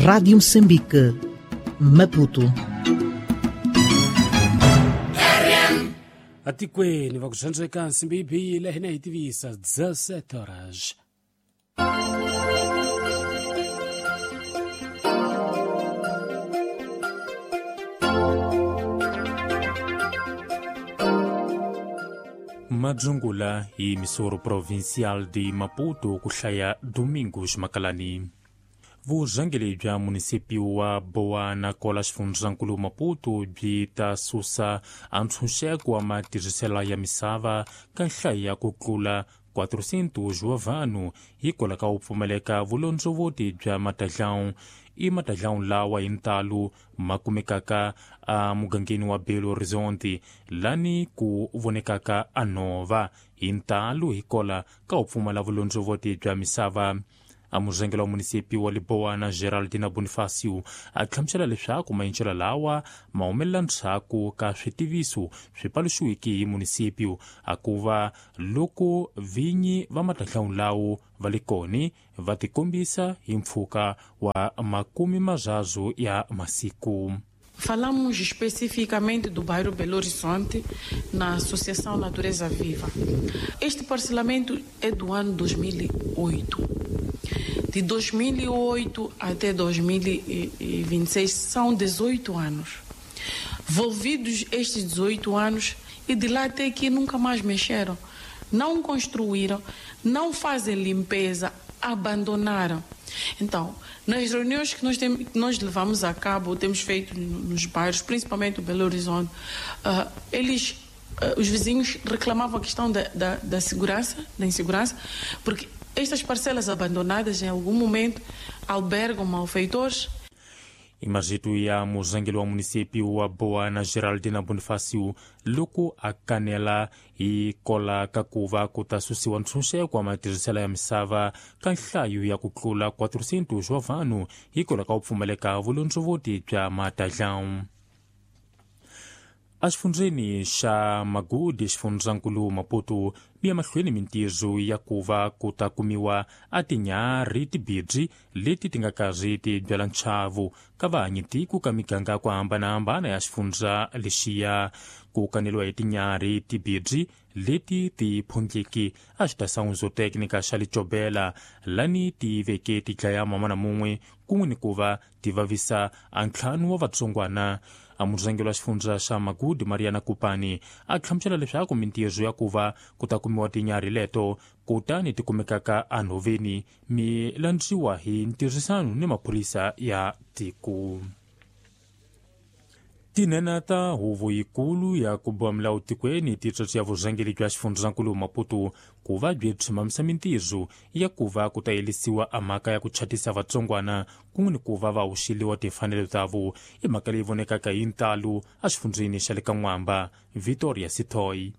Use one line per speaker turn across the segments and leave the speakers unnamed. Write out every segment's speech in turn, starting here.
Rádio Moçambique, Maputo.
Atikweni va ku swandzeka nsimbi yi biyile hina hi tivisa 17 horas.
Madzungula hi Missouri Provincial de Maputo ku hlaya Domingos Makalani. Vurhangeri bya munisipi wa Boa na Kola xifundzankulu Maputo byi ta susa antshunxeko wa matirhiselo ya misava ka nhlayo ya ku tlula 400 wa vanhu hikwalaho ka ku pfumaleka vulondzovoti bya matadlawu. I matadlawu lawa hi ntalo ma kumekaka emugangeni wa Belo Horizonte lani ku vonekaka a nhova hi ntalo hikola ka ku pfumala vulondzovoti bya misava. Amurhangeri wa munisipi wa Liboana Geraldina Bonifacio a hlamusela leswaku maendlelo lawa ma humelela ndzhaku ka switiviso swi paluxiweke hi munisipi a ku va loko vinyi va matadlawu lawo va le koni va tikombisa hi mpfhuka wa 30 ya masiku.
Falamos especificamente do bairro Belo Horizonte, na Associação Natureza Viva. Este parcelamento é do ano 2008. De 2008 até 2026 são 18 anos. Volvidos estes 18 anos, e de lá até aqui nunca mais mexeram. Não construíram, não fazem limpeza, abandonaram. Então, nas reuniões que nós levamos a cabo, temos feito nos bairros, principalmente o Belo Horizonte, os vizinhos reclamavam a questão da segurança, da insegurança, porque estas parcelas abandonadas em algum momento albergam malfeitores.
Imagito ya murhangeri wa munisipi wa Boa na Geraldina Bonifacio loko a kanela hi kola ka ku va ku ta susiwa ntshunxeko wa matirhiselo ya misava ka nhlayo ya ku tlula 400 wa vanhu hikwalaho ka ku pfumaleka vulondzovoti bya matadlawu. Exifundzeni xa Magudi xifundzankulu Maputo mi ya mahlweni mintirho ya ku va ku ta kumiwa a tinyarhi tibirhi leti ti nga karhi ti byala nchavo ka vahanyitiko ka miganga ku hambanahambana ya xifundza lexiya. Ku kaneliwa hi tinyarhi tibirhi leti ti phongeki a xitasangu zootecnica xa Licobela lani ti veke ti dlaya mamana mun'we kun'we ni ku va ti vavisa a ntlhanu wa vatsongwana. Amurhangeri wa xifundza xa Magudi Mariana Kupani a hlamusela leswaku mintirho ya ku va ku ta kumiwa tinyarhi leto kutani ti kumekaka enhoveni mi landziwa hi ntirhisano ni maphorisa ya tiko. Tinene ta huvo yikulu ya ku boha milawu tikweni ti ya vurhangeri bya xifundzankulu Maputo ku va byi tshimamisa mintirho ya ku va ku ta yelisiwa a mhaka ya ku chatisa vatsongwana kun'we ni ku va va hoxeliwa timfanelo tavo. I mhaka leyi vonekaka hi ntalo exifundzeni xa le ka N'wamba. Victoria Sithoy.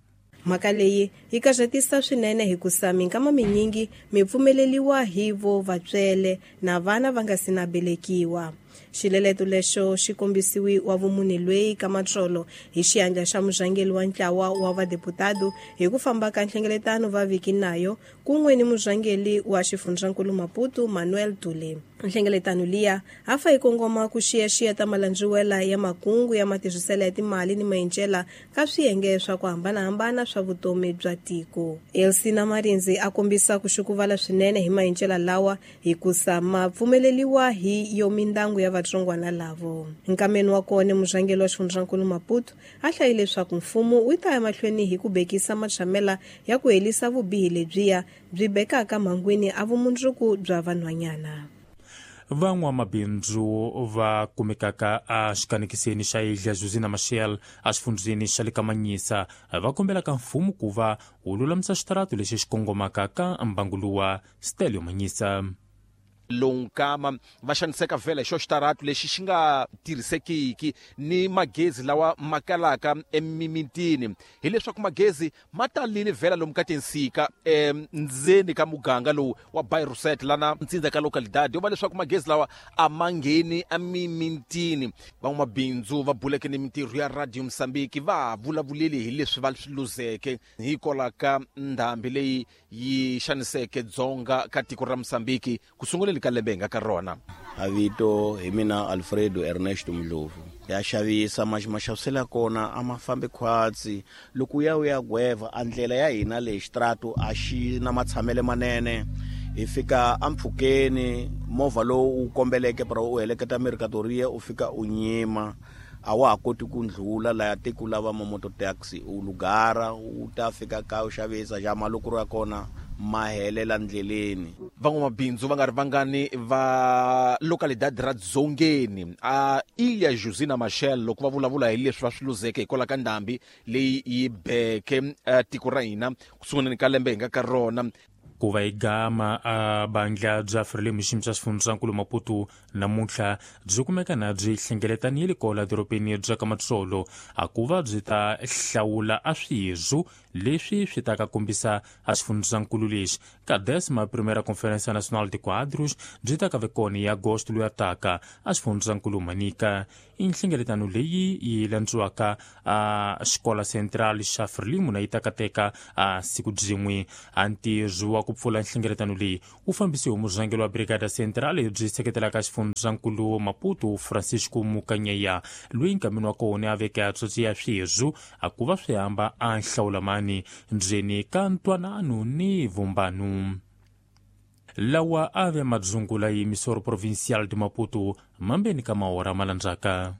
Mhaka leyi yi karhatisa swinene hikusa minkama minyingi mi pfumeleliwa hi vo vatswele na vana va nga si na belekiwa. Xileleto lexo xi kombisiwi wa vumune lweyi ka matsolo hi xiandla xa murhangeri wa ntlawa wa vadeputado hi ku famba ka nhlengeletano va viki nayo kun'we ni murhangeri wa xifundzankulu Maputo Manuel Dule. Nhlengeletano liya hafa yi kongoma ku xiyaxiya ta malandziwela ya makungu ya matirhiselo ya timali ni maendlela ka swiyenge swa ku hambanahambana swa vutomi bya tiko. Elsina Marinzi a kombisa ku xukuvala swinene hi maendlela lawa hikusa ma pfumeleliwa hi yo mindyangu ya vatsongwana lavo. Nkameni wa kona murhangeri wa xifundzankulu Maputo a hlayile leswaku mfumo wu ta ya mahlweni hi ku bekisa matshamela ya ku helisa vubihi lebyiya byi bekaka mhangwini a vumundzuku bya vanhwanyana.
Van'wamabindzu va kumekaka exikanekiseni xa Ilha Josina Machel exifundzeni xa le ka Manyisa va kombelaka mfumo ku va wu lulamisa xitarato lexi xi kongomaka ka mbangu luwa. Stelio Manyisa.
Lonkama va xaniseka vhela hi xo xitarato lexi xi nga tirhisekiki ni magezi lawa ma kalaka emimitini, hileswaku magezi ma talile vhela lomu ka tinsika ndzeni ka muganga lowu wa Bairro lana ntsindza ka localidade yo va leswaku magezi lawa a ma ngheni emimitini. Van'wamabindzu va buleke ni mintirho ya Radio Mozambique va vulavulile hi leswi va swi luzeke hikwalaho ka ndhambi leyi yi xaniseke dzonga ka tiko ra Mozambique ku sunguleni ka lembe hi nga ka rona.
A vito hi mina Alfredo Ernesto Mdlovu. Ya xavisa maxaviselo ya kona a ma fambi khwatsi. Loko u ya u ya gweva a ndlela ya hina leyi xitrato a xi na matshamele manene. Hi fika empfhukeni movha lowu u kombeleke para u heleketa mercadoria u fika u nyima a wa ha koti ku ndlula laya tiko lava ma-moto taxi u lugara u ta fika ka u xavisa xa malukuru ya kona ma helela ndleleni.
Van'wamabindzu va nga ri vangani va localidade ra Dzongeni a Ilha Josina Machel loko va vulavula hi leswi va swi luzeke hikwalaho ka ndhambi leyi yi beke tiko ra hina ku sunguleni ka lembe hi nga ka rona.
Ku va hi gama a bandla bya Frelimo xiyimo xa xifundzankulu Maputo namuntlha byi kumeka na byi hlengeletanile kola dorobeni bya ka Matsolo a ku va byi ta hlawula a swirho leswi swi ta ka kombisa a xifundzankulu lexi ka 11ª Primeira Conferência Nacional de Quadros byi ta ka ve kona hi agosto loyi a taka a xifundzankulu Manica. I nhlengeletano leyi yi landziwaka a xikola central xa Frelimo na yi ta kateka a siku byin'we. A ntirho wa ku pfula nhlengeletano leyi wu fambisiwe hi murhangeri wa Brigada Central byi seketelaka xifundzankulu Maputo Francisco Mukanyeya loyi nkameni wa kona a veke a tsotsi ya swirho a ku va swi hamba a nhlawulamani ndzeni ka ntwanano ni vumbano. Lawa a ve madzungula yi emisoro provincial de Maputo mambeni ka mahora malandzaka.